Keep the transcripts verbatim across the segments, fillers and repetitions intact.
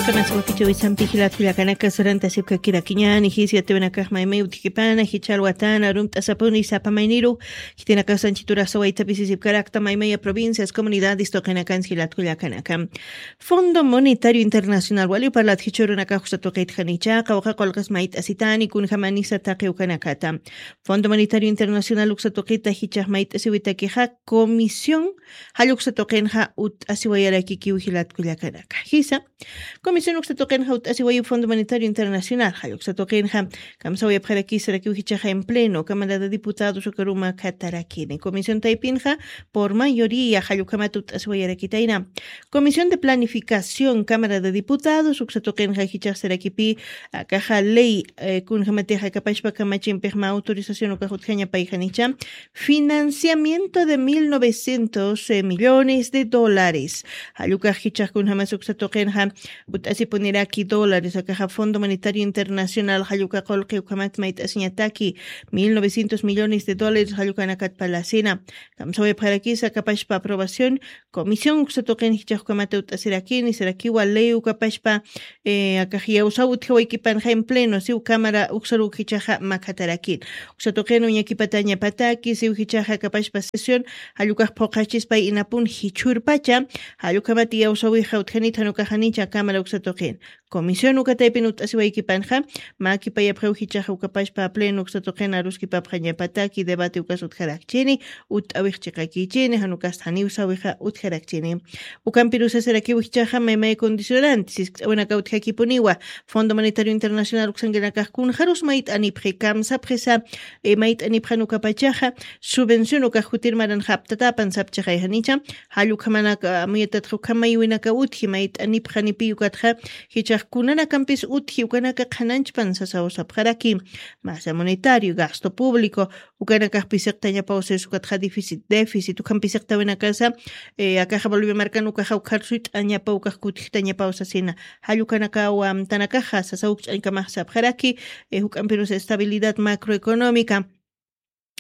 Qamasa wakichawisampi jilat kullakanaka, sarantasipkakirakiñani jis yatiwanakax maymay utjkipana jichal watana rumt'asapuni sapa mayniru. Khitinakasanchituraxa waytapisisipkarakta maymaya provincias, comunidades tuqinakansi jilat kullakanaka. Fondo Monetario Internacional wali parlat jichurunakax uksa tuqitjanicha qawqa qulqas mayt'asitani kunjamanisa taqi ukanakata. Fondo Monetario Internacional uksa tuqita jichax mayt'asiwitakixa comisión jalluksa tuqinxa ut'asiwayarakikiw jilat kullakanaka jisa. Comisión uksa tuqinxa ut'asiwayu Fondo Monetario Internacional jalluksa tuqinxa kamsawayapxarakisarakiw jichaxa en pleno Cámara de Diputados ukaruma khatarakini. Comisión taypinxa por mayoría jallukhamat ut'asiwayarakitayna. Comisión de Planificación Cámara de Diputados uksa tuqinxa jichaxsarakipi akaxa ley kunjamatixa kapashpa kamachimpixma autorización ukax utjañapayjanicha. Financiamiento de mil novecientos millones de dólares. Jallukax jichax kunjamas uksa tuqinxa ut'asipuniraki dólares akaxa fondo monetario internacional jalluka qulqi ukhamat mayt'asiñataki mil novecientos millones de dólares jallukanakat palasina. Kamsawayapxarakisa kapashpa aprobación comisión uksa tuqin jichax ukhamata ut'asirakini sarakiwa ley ukapashpa akax yawsaw utjawaykipanxa en pleno siw cámara uksaru jichaxa makhatarakin. Uksa tuqin uñakipatañapataki siw jichaxa kapashpa sesión jallukax phuqachispay inapun jichhurpacha. Jallukhamat yawsawixa utjanit janukaxanicha cámara uksa tuqin comisión ukataypin ut'asiwaykipanxa. Mä kipayapxiw jichaxa ukapashpa pleno uksa tuqin aruskipapxañapataki debate ukas utjarakchini. Utt'awix chiqakichini janukasta janiwsawixa utjarakchini. Ukampirusasarakiw jichaxa maymay condicionante siskt'awinaka utjakipuniwa. Fondo monetario internacional uksankinakax kunxarus mayt'anipxi kamsapxisa mayt'anipxan ukapachaxa subvención ukax jutir maranxa aptatapan sapchaxayjanicha. Jallukhamanaka amuyatatxa ukhamaywinaka utji mayt'anipxanipiy ukatxa jichax kunanakampis utji ukanaka qhananchpan sasaw sapxaraki. Masa monetario gasto público ukanakax pisiqtañapaw sas ukatxa déficit déficit ukham pisiqtawinakasa akaxa bolivia markan ukaxa ukxar suyt'añapaw ukax kutjitañapaw sasina. Jallukanakaw amtanakaxa sasaw ukch'añkamax sapxaraki juk'ampirus estabilidad macroeconómica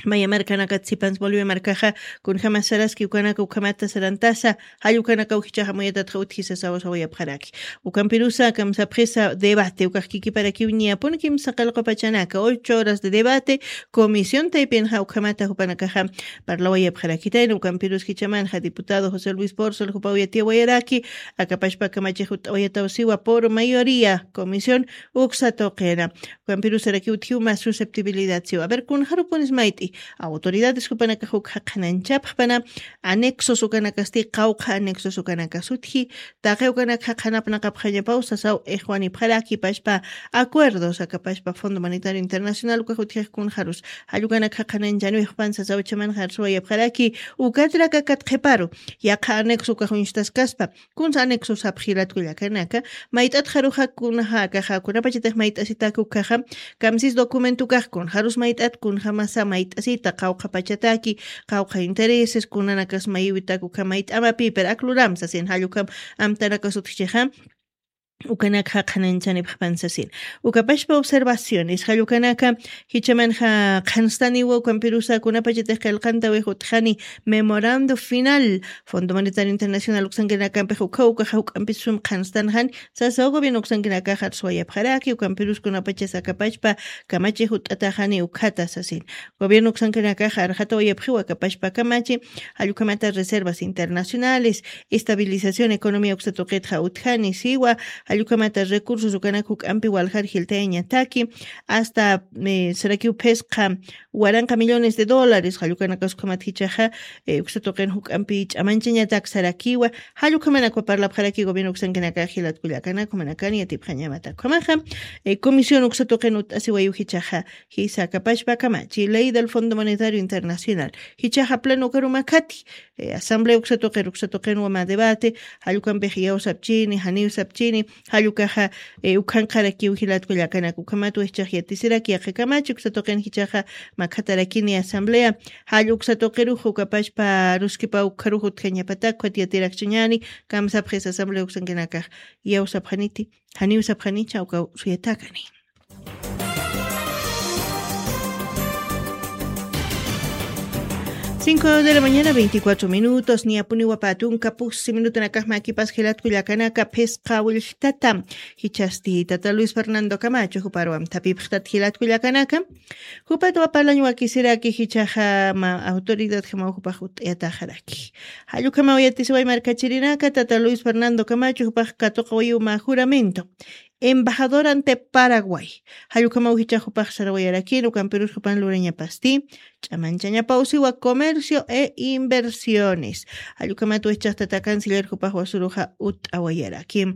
maya markanakat sipans bolivia markaxa kunjama saraski ukanaka ukhamata sarantasa. Jallukanakaw jichaxa muyatatxa utji sasaw sawayapxaraki. Ukampirusa kamsapxisa debate ukax kikiparakiw ñapun kimsa qallqupachanaka ocho horas de debate comisión taypinxa ukhamata jupanakaxa parlawayapxarakitayna ukampirus jichamanxa diputado josé luis porcel jupaw yatiyawayaraki akapashpa kamachix ut'awayataw siwa por mayoría comisión uksa tuqina. Ukampirusarakiw utjiw mas susceptibilidad siwa aver kunxarupunis mayt'i autoridades jupanakax ukxa qhananchapxpana anexos ukanakasti qawqha anexos ukanakas utji taqi ukanakxa qhanapnaqapxañapaw sasaw ixwanipxaraki pashpa acuerdos akapashpa fondo monetario internacional ukax utjix kunxarus jallukanakxa qhananchanwixpan sasaw chamanxar suwayapxaraki ukatrakakat qhiparu yaqha anexo ukax uñstaskaspa kunsa anexo sapxilatkullakanaka mayt'atxaruxa kunaxa akaxa kunapachatix mayt'asitak ukaxa kamsis documentokax kunxarus mayt'at kunxamasa mayt'asita qawqhapachataki qawqha intereses kunanakas mayiwitak ukha mayt'amapi pero akluram sasin jallukam amtanakas utjchixa ukanakxa qhananchanipxpan sasin. Ukapashpa observaciones jallukanaka jichamanxa qhanstaniwa ukampirusa kunapachatix qillqantawix utjani memorando final fondo monetario internacional uksankinakampix ukha ukaxa juk'ampis sum qhanstanxani sasaw gobierno uksankinakaxa arsuwayapxaraki ukampirus kunapachas akapachpa kamachix ut'ataxani ukhata sasin. Gobierno uksankinakaxa arxatawayapxiwa akapachpa kamachi jallukhamata reservas internacionales estabilización economía uksa tuqitxa utjani siwa jallukhamata recursos ukanak juk'ampi waljar jiltayañataki hasta sarakiw phisqa waranqa millones de dólares jallukanakas ukhamat jichaxa uksa tuqin juk'ampi ch'amanchañatak sarakiwa jallukhamanakwa parlapxaraki gobierno uksankinakax jilatkullakanak umanakani yatipxañamatak ukhamaxa comisión uksa tuqin ut'asiwayu jichaxa jisa akapashpa kamachi ley del fondo monetario internacional jichaxa pleno ukarumakhati asamblea uksa tuqir uksa tuqinwa mä debate jallukampix iyawsapchini janiwsapchini jallukaxa ukhanqarakiw jilatkullakanak ukhamat wixchax yatisiraki yaqhikamachi uksa tuqin jichaxa makhatarakini asamblea jall uksa tuqirux ukapashpa ruskipa ukharux utjañapatak ukat yatirakchañani kamsapxis asamblea uksankinakax iyawsapxaniti janiwsapxanicha ukaw suyatakani. Cinco de la mañana, veinticuatro minutos, niyapuniwa pä tunka pusi minutunakaxma akipas jilatku llakanaka phisqa willtata. Jichhasti tata Luis Fernando Camacho juparwam thapipxtat jilatku llakanaka. Jupatwa parlañ wakisiraki jichhaxa ma autoridadjamaw jupax ut'ayataxaraki. Jallukamaw yatisiway markachirinaka tata Luis Fernando Camacho jupax katuqawayiw mä juramento. Embajador ante Paraguay. Jallukamaw jichhax jupax sarawayarakin ukampirus jupan lurañapasti. Ch'amanchañapawsiwa comercio e inversiones. Jallukamato echaqtata canciller jupax wasuruxa ut'awayaraki.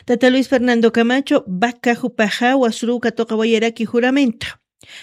Tata Luis Fernando Camacho vaca jupaxa wasuru katuqawayaraki juramento.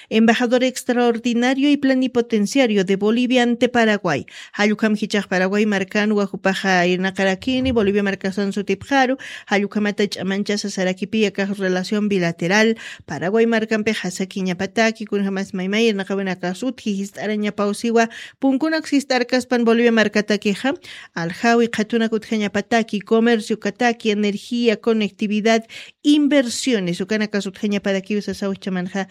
Embajador extraordinario y plenipotenciario de Bolivia ante Paraguay. Jallukam jichax Paraguay markan wajupaxa irnaqarakini Bolivia markasan sutipxaru. Jallukamata ch'amanchasa sarakipi akax relación bilateral Paraguay markampi jasakiñapataki kunjamas maymay irnaqawinakax utji jist'arañapawsiwa. Punkunak jist'arkaspan Bolivia markatakixa aljawi qhatunak utjañapataki comercio kataki energía conectividad inversiones ukanakas utjañaparakiw sasaw chamanxa.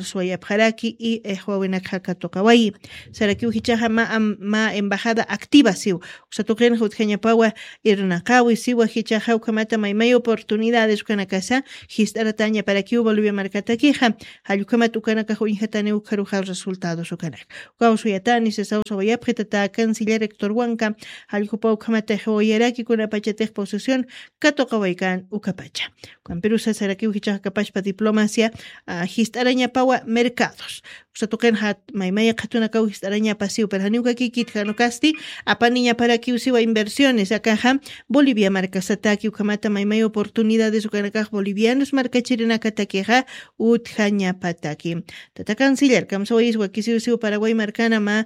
Arswayapxaraki y ixwawinakxa katuqawayi. Sarakiw jichaxa ma embajada activa siw. Uksatuqinxa utjañapawa irnaqawi siwa jichaxa ukhamata maymay oportunidades ukanakasa jist'aratañaparakiw bolivia markatakixa. Jallukhamat ukanakax uñjatani ukharuxal resultados ukanak. Ukaw suyatani sisawsawayapxi tata canciller rectorwanka. Jallukhupa ukhamata ixwawayaraki kunapachatix posición katuqawaykan ukapacha. Ukampirusa sarakiw jichaxa kapachpa diplomacia jist'arañapawa mercados. Uksatuqinxa maymaya qhatunakaw jist'arañapasiw pero janiw kakikit janukasti apaniñaparakiw siwa inversiones akaxa. Bolivia markasataki ukhamata maymaya oportunidades ukanakax bolivianos markachirinakatakixa utjañapataki. Tata canciller kamsawayis wakisiw siw paraguay markana ma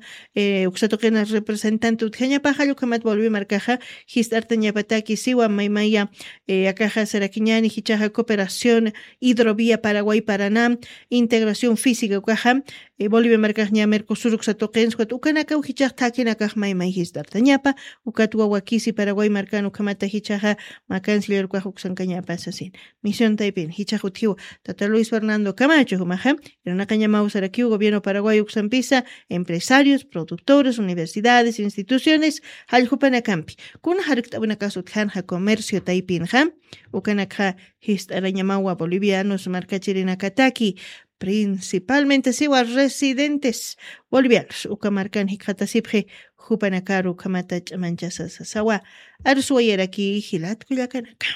uksatuqina representante utjañapaxa llukhamat bolivia markaxa jist'artañapataki siwa maymaya akaxa sarakiñani jichaxa cooperación hidrovía paraguay paraná integración física ukaxa bolivia markaxña mercosur uksatuqinsa ukat ukanakaw jichax thakinakax maymay jist'artañapa. Ukat wawakisi paraguay markan ukhamata jichaxa ma canciller ukax uksankañapa sasin. Misión taypin jichax utjiw tata luis fernando camacho jumaxa irnaqañamaw sarakiw gobierno paraguay uksampisa empresarios productores universidades instituciones jallq'upanakampi kuna jarkt'awinakas utjanxa comercio taypinxa ukanakxa jist'arañamawa bolivianos markachirinakataki principalmente siwa residentes bolivianos uka markan jikxatasipxi. Jupanakaru ukhamata ch'amanchasasasawa arsuwayaraki jilatkullakanaka.